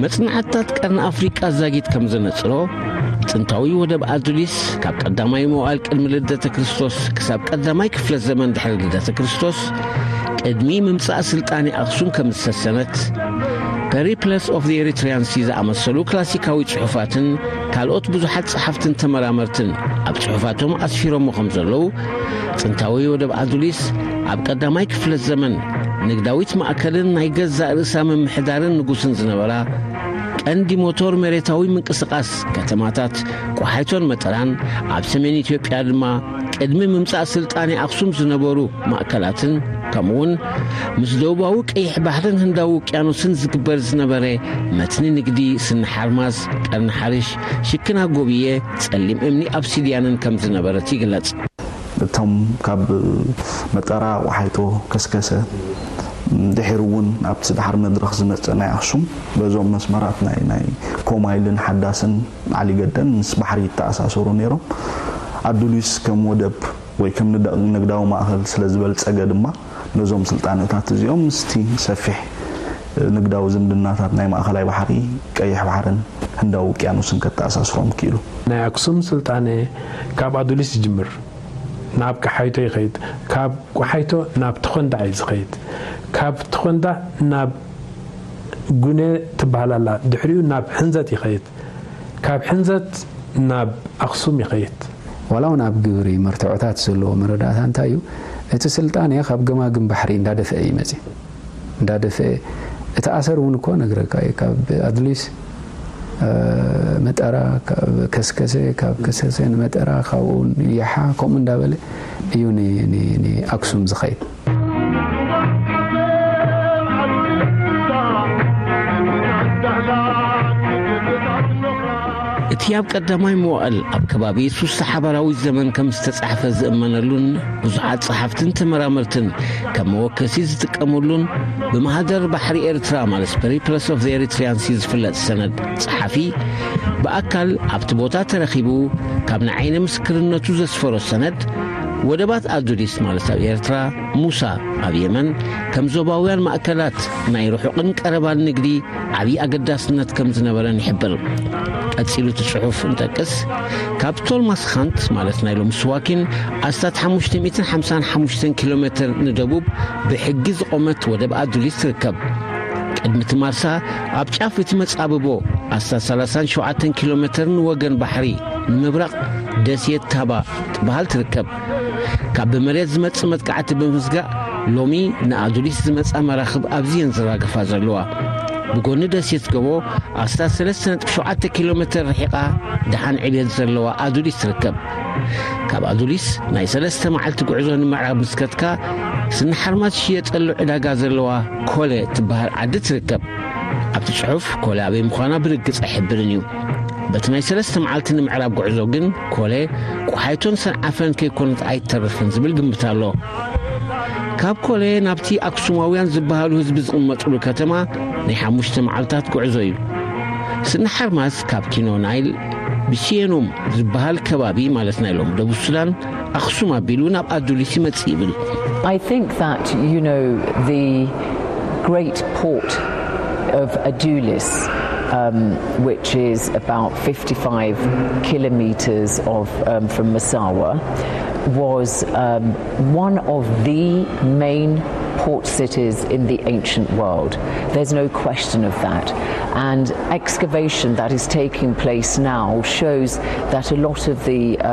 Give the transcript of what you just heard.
መጽናዕትታት ቀርኒ ኣፍሪቃ ዛጊት ከም ዘነጽሮ፣ ጥንታዊ ወደብ ኣዱሊስ ካብ ቀዳማይ መዋእል ቅድሚ ልደተ ክርስቶስ ክሳብ ቀዳማይ ክፍለ ዘመን ድሕሪ ልደተ ክርስቶስ፣ ቅድሚ ምምጻእ ስልጣኔ ኣኽሱም ከም ዝሰሰነት፣ Periples of the Eritrean Sea ዝኣመሰሉ ክላሲካዊ ጽሑፋትን ካልኦት ብዙሓት ጸሓፍትን ተመራመርትን ኣብ ጽሑፋቶም ኣስፊሮሞ ከም ዘለዉ፣ ጥንታዊ ወደብ ኣዱሊስ ኣብ ቀዳማይ ክፍለ ዘመን ንግዳዊት ማእከልን ናይ ገዛእ ርእሳ ምምሕዳርን ንጉስን ዝነበራ፣ ቀንዲ ሞቶር መሬታዊ ምንቅስቓስ ከተማታት ቋሓይቶን መጠራን፣ ኣብ ሰሜን ኢትዮጵያ ድማ ቅድሚ ምምጻእ ስልጣኔ ኣኽሱም ዝነበሩ ማእከላትን፣ ከምኡውን ምስ ደቡባዊ ቀይሕ ባሕርን ህንዳዊ ውቅያኖስን ዝግበር ዝነበረ መትኒ ንግዲ፣ ስኒ ሓርማዝ፣ ቀርኒ ሓርሽ፣ ሽክና ጎብየ፣ ጸሊም እምኒ ኣብሲድያንን ከም ዝነበረት ይግለጽ። እቶም ካብ መጠራ፣ ቋሓይቶ፣ ከስከሰ፣ ድሒሩ እውን ኣብቲ ድሓር መድረኽ ዝመጸ ናይ ኣኽሱም፣ በዞም መስመራት ናይ፣ ናይ ኮማይልን ሓዳስን ዓሊገደን ምስ ባሕሪ ይተኣሳሰሩ ነይሮም። ኣዱሊስ ከም ወደብ ወይ ከም ንደ-፣ ንግዳዊ ማእከል ስለ ዝበልጸገ ድማ፣ ነዞም ስልጣነታት እዚኦም ምስቲ ሰፊሕ ንግዳዊ ዝምድናታት ናይ ማእከላይ ባሕሪ፣ ቀይሕ ባሕርን ህንዳዊ ውቅያኖስን ከተኣሳስሮም ክኢሉ። ናይ ኣክሱም ስልጣነ ካብ ኣዱሊስ ይጅምር፣ ናብ ቀሓይቶ ይኸይድ፣ ካብ ቀሓይቶ ናብ ተኾንዳዕ እዩ ዝኸይድ፣ ካብ ተኾንዳዕ ናብ ጉነ ትበሃል ኣላ፣ ድሕሪኡ ናብ ሕንዘት ይኸይድ፣ ካብ ሕንዘት ናብ ኣኽሱም ይኸይድ። ዋላ እውን ኣብ ግብሪ መርትዖታት ዘለዎ መረዳእታ እንታይ እዩ? እቲ ስልጣኔ ካብ ገማግም ባሕሪ እንዳደፍአ እዩ መጺኡ። እንዳደፍአ፣ እቲ ኣሰር እውን እኮ ነግረካ እዩ። ካብ ኣድሊስ፣ እ፣ መጠራ፣ ካብ ከስከሰ፣ ካብ ከስከሰ ንመጠራ፣ ካብኡ ንያሓ፣ ከምኡ እንዳበለ እዩ ን-፣ ን-፣ ንኣክሱም ዝኸይድ። እቲ ኣብ ቀዳማይ መዋእል ኣብ ከባቢ ሱሳ ሓባራዊ ዘመን ከም ዝተጻሕፈ ዝእመነሉን ብዙሓት ጸሓፍትን ተመራመርትን ከም መወከሲ ዝጥቀሙሉን፣ ብማህደር ባሕሪ ኤርትራ ማለት Periples of the Eritrean Sea ዝፍለጥ ሰነድ ጸሓፊ ብኣካል ኣብቲ ቦታ ተረኺቡ ካብ ንዓይነ ምስክርነቱ ዘስፈሮ ሰነድ፣ ወደባት ኣዱሊስ ማለት ኣብ ኤርትራ፣ ሙሳ ኣብ የመን ከም ዞባውያን ማእከላት ናይ ርሑቕን ቀረባን ንግዲ ዓብዪ ኣገዳስነት ከም ዝነበረን ይሕብር። ቀጺሉ እቲ ጽሑፍ እንጠቅስ፣ ካብ ቶልማስ ኻንት ማለት ናይ ሎሚ ስዋኪን ኣስታት ሓሙሽተ ሚእትን ሓምሳን ሓሙሽተን ኪሎ ሜትር ንደቡብ ብሕጊ ዝቖመት ወደብ ኣዱሊስ ትርከብ። ቅድሚ እቲ ማርሳ ኣብ ጫፍ እቲ መጻብቦ ኣስታት ሰላሳን ሸውዓተን ኪሎ ሜትር ንወገን ባሕሪ ንምብራቕ ደሴት ታባ ትበሃል ትርከብ። ካብ ብመሬት ዝመጽእ መጥቃዕቲ ብምስጋእ፣ ሎሚ ንኣዱሊስ ዝመጻ መራኽብ ኣብዚየን ዝራገፋ ዘለዋ። ብጎኒ ደሴት ገቦ ኣስታት ሰለስተ ነጥቢ ሸውዓተ ኪሎ ሜትር ርሒቓ፣ ደሓን ዕብየት ዘለዋ ኣዱሊስ ትርከብ። ካብ ኣዱሊስ ናይ ሰለስተ መዓልቲ ጉዕዞ ንምዕራብ ምስ ከድካ፣ ስኒ ሓርማዝ ዝሽየጠሉ ዕዳጋ ዘለዋ ኮለ ትበሃል ዓዲ ትርከብ። ኣብቲ ጽሑፍ ኮለ ኣበይ ምዃና ብርግጽ ኣይሕብርን እዩ። በቲ ናይ ሰለስተ መዓልቲ ንምዕራብ ጉዕዞ ግን ኮለ ቆሓይቶን ሰንዓፈን ከይኮነት ኣይትተርፍን ዝብል ግምት ኣሎ። ካብ ኮለ ናብቲ ኣክሱማውያን ዝበሃሉ ህዝቢ ዝቕመጥሉ ከተማ ናይ ሓሙሽተ መዓልታት ጉዕዞ እዩ። ስኒ ሓርማዝ ካብ ኪኖ ናይል ብሲየኑም ዝበሃል ከባቢ ማለት ናይ ሎም ደቡብ ሱዳን ኣኽሱም ኣቢሉ ናብ ኣዱሊስ ይመጽእ ይብል። I think that, you know, the great port of Adulis, um, which is about fifty-five kilometers of, um, from Massawa, was, um, one of the main port cities in the ancient world. There's no question of that. And excavation that is taking place now shows that a lot of the, uh,